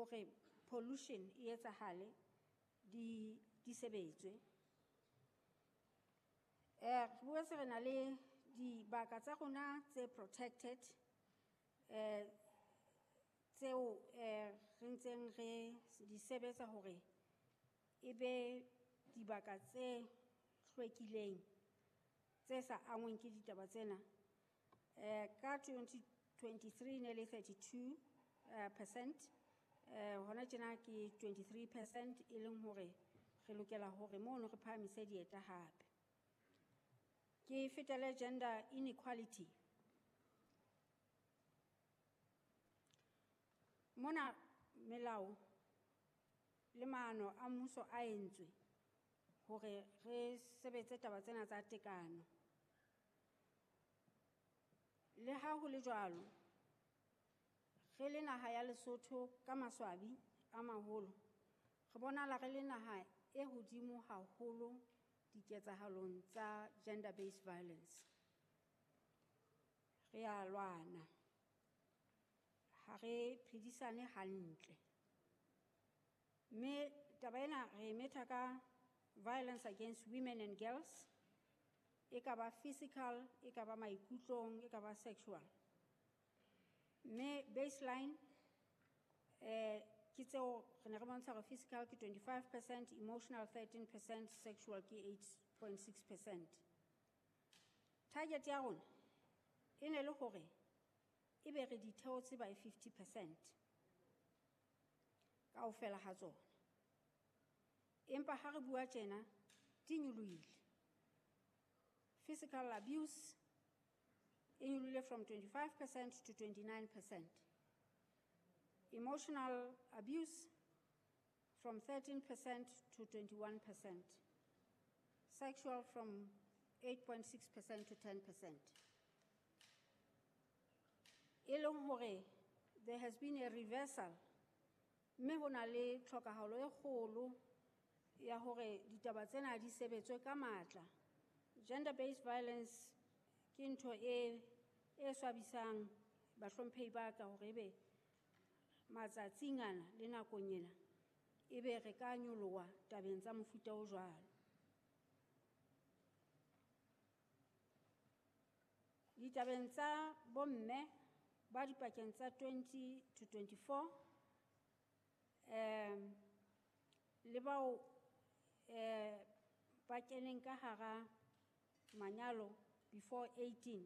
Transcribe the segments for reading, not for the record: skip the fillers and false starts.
hore pollution e etsahale di sebetswe. Re boetse re na le dibaka tsa rona tse protected tseo re ntseng re di sebetsa hore e be dibaka tse hlwekileng tse sa angweng ke ditaba tsena. Ka 2023 ne le 32%, hona tjena ke 23% e leng hore re lokela hore mono re phahamise dieta hape. Ke fetele gender inequality. Mona melao le maano a mmuso a entswe hore re sebetse taba tsena tsa tekano. Le ha ho le jwalo, re le naha ya Lesotho ka maswabi a maholo, re bonahala re le naha e hodimo haholo diketsahalong tsa gender based violence. Re a lwana, ha re phedisane hantle. Mme taba ena re e metha ka violence against women and girls, e ka ba physical, e ka ba maikutlong, e ka ba sexual. Mme baseline ke tseo re ne re bontsha hore physical ke 25%, emotional 13%, sexual ke 8.6%. Target ya rona e ne le hore e be re di theotse by 50% kaofela ha tsona. Empa ha re bua tjena di nyolohile. Physical abuse e nyolohile from 25% to 29%. Emotional abuse from 13% to 21%. Sexual from 8.6% to 10%. E leng hore there has been a reversal, mme ho na le tlhokahalo e kgolo ya hore ditaba tsena di sebetswe ka matla. Gender based violence ke ntho e swabisang bahlomphehi ba ka hore ebe matsatsing ana le nakong ena ebe re ka nyoloha tabeng tsa mofuta o jwalo. Ditabeng tsa bomme ba dipakeng tsa 20 to 24 le bao ba keneng ka hara manyalo before 18,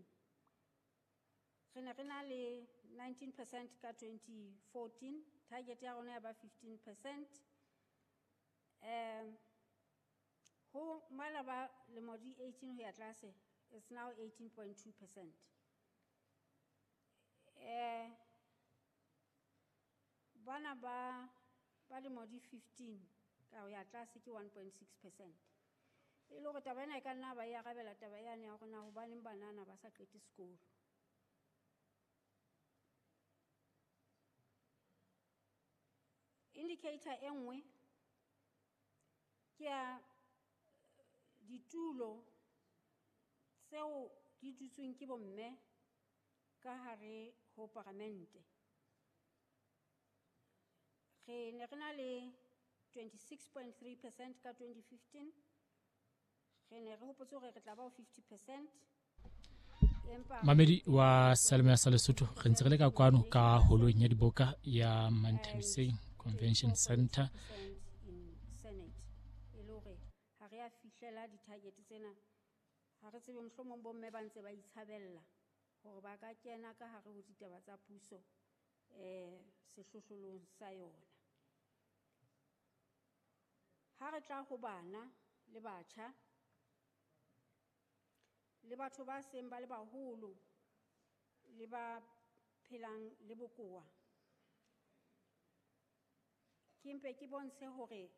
re ne re na le 19% ka 2014, target ya rona ya ba 15%. Ho mala ba lemo di 18 ho ya tlase, it's now 18.2%. Bana ba lemo di 15 ka ho ya tlase ke 1.6%. E le hore taba ena e ka nna ba e arabela taba yane ya hore na hobaneng banana ba sa qete sekolo. Indicator e nngwe ke ya ditulo tseo di dutsweng ke bomme ka hare ho paramente. Re ne re na le 26.3% ka 2015. Re ne re hopotse hore re tla ba ho 50%. Mamedi wa Salome sa Lesotho, re ntse re le ka kwano ka holong ya diboka ya Manthabiseng Convention Center. Senate e le hore ha re a fihlela di-target tsena, ha re tsebe mohlomong bomme ba ntse ba itshabella hore ba ka kena ka hare ho ditaba tsa puso sehlohlolong sa yona. Ha re tla ho bana le batjha le batho ba seng ba le baholo le ba phelang le bokowa, ke mpe ke bontshe hore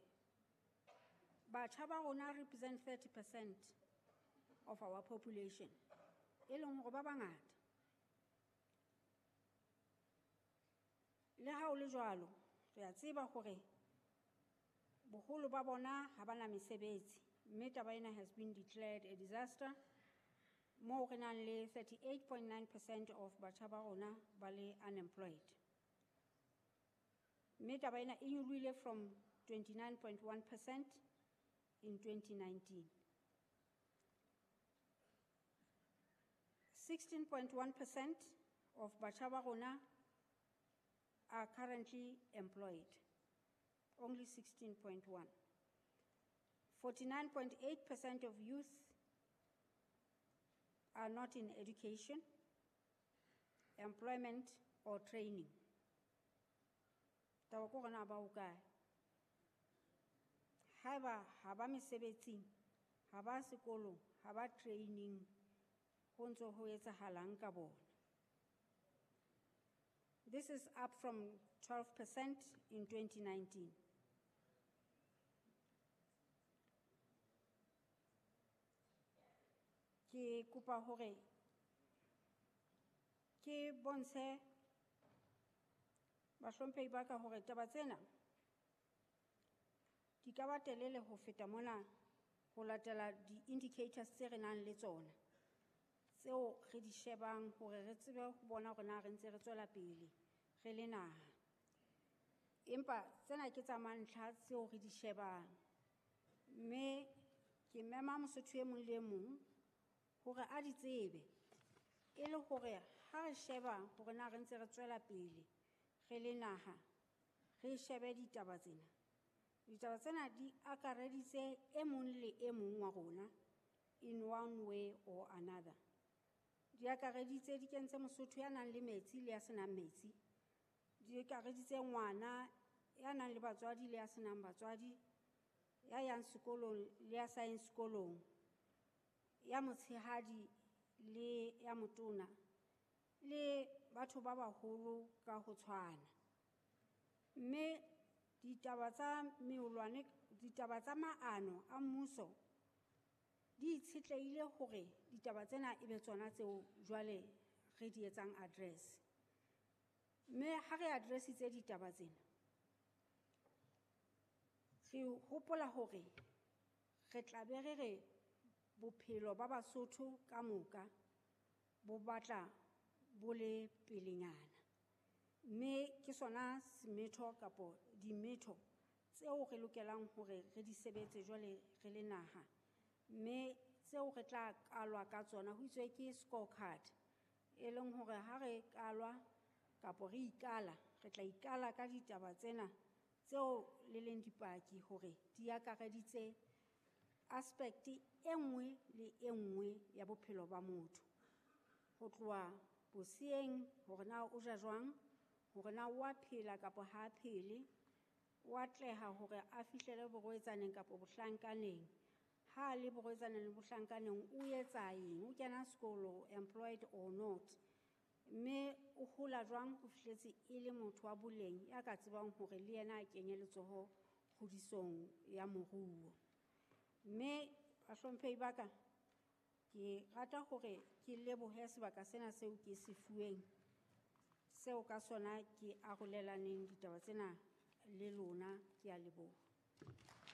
batjha ba rona represent 30% of our population, e leng hore ba bangata. Le ha ho le jwalo, re a tseba hore boholo ba bona ha ba na mesebetsi, mme taba ena has been declared a disaster, moo re nang le 38.9% of batjha ba rona ba le unemployed. Mme taba ena e nyolohile from 29.1% in 2019. 16.1% of batjha ba rona are currently employed. Only 16.1. 49.8% of youth are not in education, employment or training. Taba ke hore na ba hokae. Haeba ha ba mesebetsing, ha ba sekolong, ha ba training, ho ntso ho etsahalang ka bona. This is up from 12% in 2019. Ke kopa hore ke bontshe bahlomphehi ba ka hore taba tsena di ka ba telele ho feta mona ho latela di-indicators tse re nang le tsona, tseo re di shebang hore re tsebe ho bona hore na re ntse re tswela pele re le naha. Empa tsena ke tsa mantlha tseo re di shebang. Mme ke mema Mosotho e mong le e mong hore a di tsebe, e le hore ha re sheba hore na re ntse re tswela pele re le naha, re shebe ditaba tsena. Ditaba tsena di akareditse e mong le e mong wa rona in one way or another. Di akareditse, di kentse Mosotho ya nang le metsi le ya senang metsi. Di akareditse ngwana ya nang le batswadi le ya senang batswadi, ya yang sekolong le ya sa yeng sekolong, ya motshehadi le ya motona, le batho ba baholo ka ho tshwana. Mme ditaba tsa meolwane, ditaba tsa maano a mmuso di itshetlehile hore ditaba tsena e be tsona tseo jwale re di etsang address. Mme ha re addressitse ditaba tsena, re hopola hore re tla be re re bophelo ba Basotho ka moka bo batla bo le pelenyana. Mme ke sona semetho kapo dimetho tseo re lokelang hore re di sebetse jwale re le naha. Mme tseo re tla kalwa ka tsona ho itswe ke scorecard, e leng hore ha re kalwa kapo re ikala, re tla ikala ka ditaba tsena tseo le leng dipaki hore di akareditse aspect e nngwe le e nngwe ya bophelo ba motho. Ho tloha boseyeng hore na o ja jwang, hore na o a phela kapa ha a phele, o atleha hore a fihlele borwetsaneng kapa bohlankaneng. Ha a le borwetsaneng le bohlankaneng, o etsa eng, o kena sekolo, employed or not. Mme o hola jwang ho fihletse e le motho wa boleng ya ka tsebang hore le yena a kenye letsoho kgodisong ya moruo. Mme bahlomphehi ba ka, ke rata hore ke lebohe sebaka sena seo ke se fuweng, seo ka sona ke arolelaneng ditaba tsena le lona. Ke a leboha.